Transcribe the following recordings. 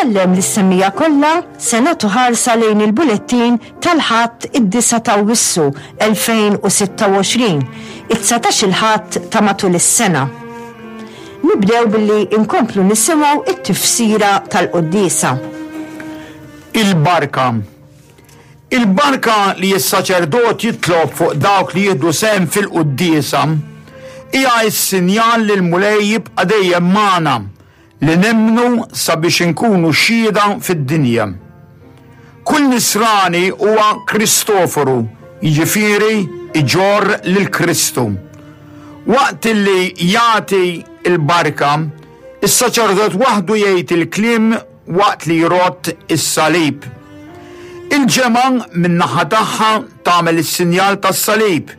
Insellem lis-semmiegħa kollha, se nagħtu ħarsa lejn il-bulettin tal-Ħadd id-disgħa t'Awwissu 2026, it-dsatax-il Ħadd ta' matul is-sena. Nibdew billi nkomplu nisimgħu t-tifsira tal-quddiesa. Il-barka. Il-barka li s-saċerdot jitlob fuq dawk li jieħdu sehem fil-quddiesa hija s-sinjal li l-Mulej jibqa' dejjem magħna li nemmnu sabiex inkunu xhieda fid-dinja. Kull nisrani huwa Kristoforu, jiġifieri iġorr lil Kristu. Waqt li jagħti l-barka, is-saċerdot waħdu jgħid il-kliem waqt li jrott is-salib. Il-ġemgħa min-naħa tagħha tagħmel is-sinjal tas-salib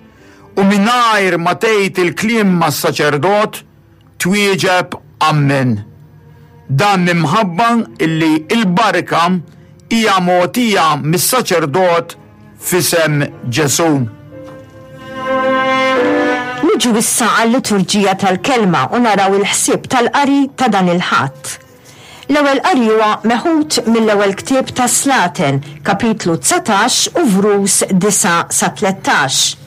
u mingħajr ma tgħid il-kliem mas-saċerdot, Twieġeb Ammen. Dan minħabba illi l-barka hija mogħtija mis-saċerdot f'isem Ġesù. Niġu issa għal-liturġija tal-Kelma u naraw il-ħsieb tal-qari ta' dan il-Ħadd. L-ewwel qari huwa meħud mill-ewwel ktieb tas-Slaten, kapitlu 19 u vrus 9 sa 13.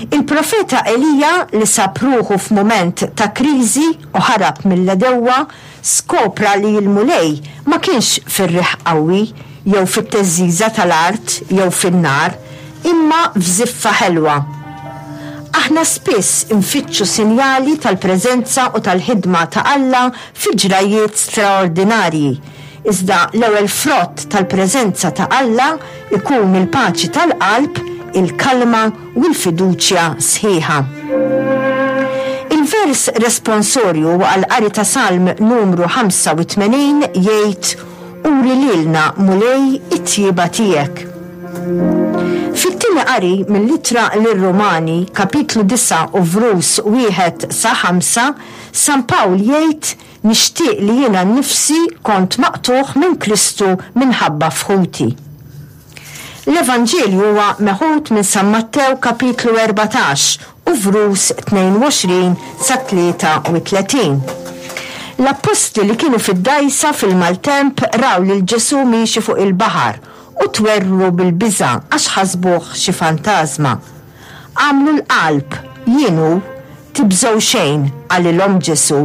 Il-profeta Elija li sab ruħu f'mument ta' kriżi u ħarab mill-għedewwa, skopra li l-Mulej ma kienx fir-riħ qawwi jew fit-theżżiża tal-art jew fin-nar, imma f'żiffa ħelwa. Aħna spiss infittxu sinjali tal-preżenza u tal-ħidma ta' Alla fi ġrajjiet straordinarji, iżda l-ewwel frott tal-preżenza ta' Alla jkun il-paċi tal-qalb, il-kalma u l-fiduċja sħiħa. Il-vers responsorju għall-qari ta' Salm numru 85 jgħid, Uri lilna, Mulej, it-tjieba tiegħek. Fit-tieni qari mill-Ittra lir-Rumani, kapitlu 9 u vrus wieħed sa ħamsa, San Pawl jgħid, Nixtieq li jiena nnifsi kont maqtugħ minn Kristu minħabba f'ħuti. L-Evanġelju huwa meħud minn San Mattew kapitlu 14 u vrus 22 sa 33. L-appostli li kienu fid-dgħajsa fil-maltemp raw lil Ġesù miexi fuq il-baħar u twerwru bil-biża' għax ħasbuh xi fantażma. Agħmlu l-qalb, jien hu, tibżgħu xejn, qalilhom Ġesù.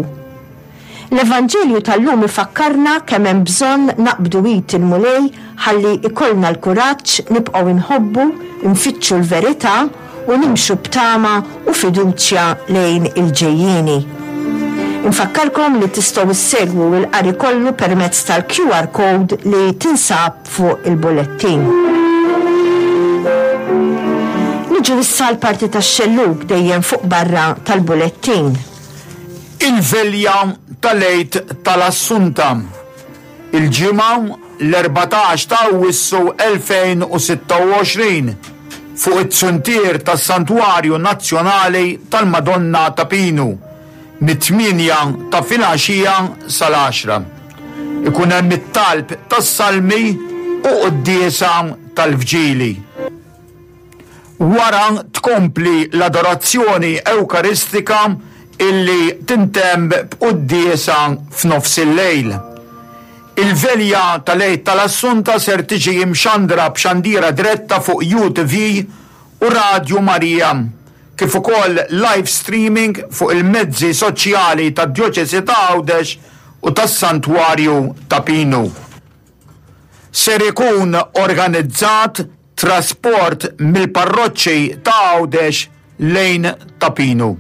L-Evanġelju tal-lum ifakkarna kemm hemm bżonn naqbdu id il-Mulej ħalli jkollna l-kuraġġ nibqgħu nħobbu, nfittxu l-verità u nimxu b'tama u fiduċja lejn il-ġejjieni. Infakkarkom li tistgħu ssegwu l-qari kollu permezz tal-QR code li tinsab fuq il-bulettin. Niġu issa għall-parti tax-xellug dejjem fuq barra tal-bulettin. Il-Velja tal-Għid tal-Assunta, il-Ġimgħa l-14 ta' Awwissu 2026, fuq it-zuntier tas-Santwarju Nazzjonali tal-Madonna ta' Pinu, mit-tmienja ta' filgħaxija sal-għaxra. Ikun hemm it-talb tas-salmi u quddiesa tal-vġili. Wara tkompli l-adorazzjoni Ewkaristika illi tintemm b'quddiesa f'nofsillejl. Il-Velja tal-Għid tal-Assunta ser tiġi mxandra b'xandira diretta fuq UTV u Radju Marija, kif ukoll live streaming fuq il-mezzi soċjali tad-Djoċesi ta' Għawdex u tas-Santwarju ta' Pinu. Ser ikun organizzat trasport mill-parroċċi ta' Għawdex lejn Ta' Pinu.